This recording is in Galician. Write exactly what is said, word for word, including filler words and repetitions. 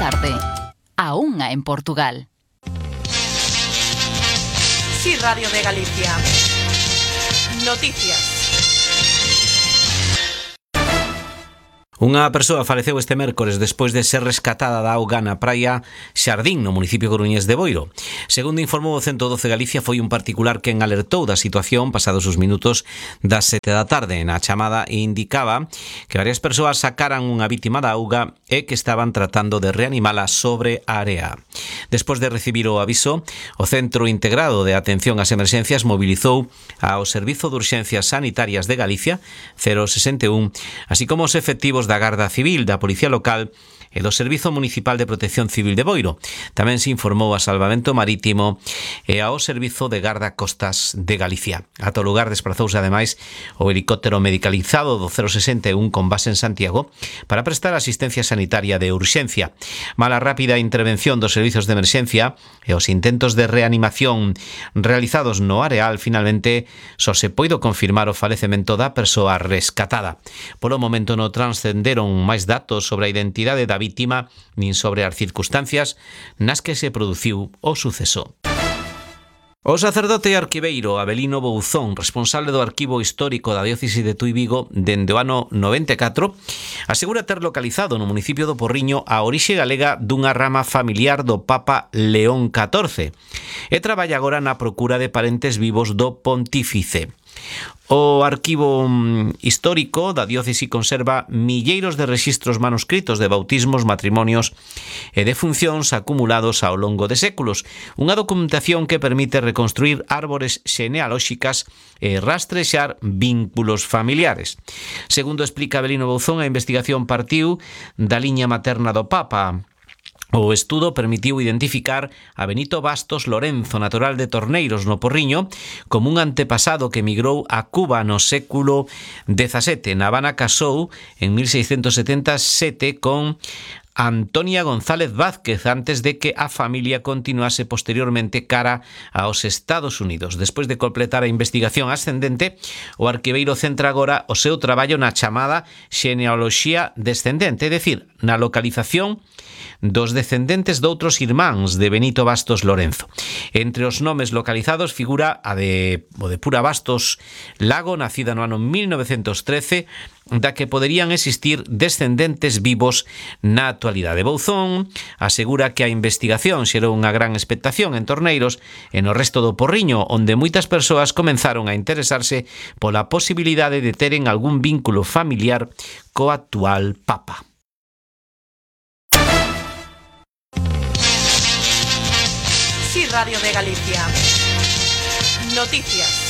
tarde. A unha en Portugal. Sí, Radio de Galicia. Noticias. Unha persoa faleceu este mércores despois de ser rescatada da auga na praia Xardín, no municipio coruñés de Boiro. Segundo informou o ciento doce Galicia, foi un particular quen alertou da situación pasados os minutos das sete da tarde. Na chamada indicaba que varias persoas sacaran unha vítima da auga e que estaban tratando de reanimala sobre a area. Despois de recibir o aviso, o Centro Integrado de Atención ás Emerxencias mobilizou ao Servizo de Urxencias Sanitarias de Galicia, cero sesenta e un, así como os efectivos da Garda Civil, da Policía Local e do Servizo Municipal de Protección Civil de Boiro. Tamén se informou a Salvamento Marítimo e ao Servizo de Garda Costas de Galicia. Ata o lugar desprazouse ademais o helicóptero medicalizado do cero sesenta e un con base en Santiago para prestar asistencia sanitaria de urxencia. Mala rápida intervención dos servizos de emerxencia e os intentos de reanimación realizados no areal, finalmente só se poido confirmar o falecemento da persoa rescatada. Polo momento non transcenderon máis datos sobre a identidade da vítima nin sobre as circunstancias nas que se produciu o suceso. O sacerdote arquiveiro Avelino Bouzón, responsable do Arquivo Histórico da Diócese de Tui Vigo dende o ano noventa e catro, asegura ter localizado no municipio do Porriño a orixe galega dunha rama familiar do Papa León catorce e traballa agora na procura de parentes vivos do pontífice. O Arquivo Histórico da Diócese conserva milleiros de rexistros manuscritos de bautismos, matrimonios e defuncións acumulados ao longo de séculos. Unha documentación que permite reconstruir árbores xenealóxicas e rastrexar vínculos familiares. Segundo explica Avelino Bouzón, a investigación partiu da liña materna do Papa. O estudo permitiu identificar a Benito Bastos Lorenzo, natural de Torneiros, no Porriño, como un antepasado que emigrou a Cuba no século dezasete. Na Habana casou en mil seiscentos setenta e sete con Antonia González Vázquez antes de que a familia continuase posteriormente cara aos Estados Unidos. Despois de completar a investigación ascendente, o arquiveiro centra agora o seu traballo na chamada xenealoxía descendente, é dicir, na localización dos descendentes doutros irmáns de Benito Bastos Lorenzo. Entre os nomes localizados figura a de, o de Pura Bastos Lago, nacida no ano mil novecentos trece, da que poderían existir descendentes vivos na actualidade. Bouzón asegura que a investigación xerou unha gran expectación en Torneiros e no resto do Porriño, onde moitas persoas comenzaron a interesarse pola posibilidade de teren algún vínculo familiar co actual Papa. Sí, Radio de Galicia. Noticias.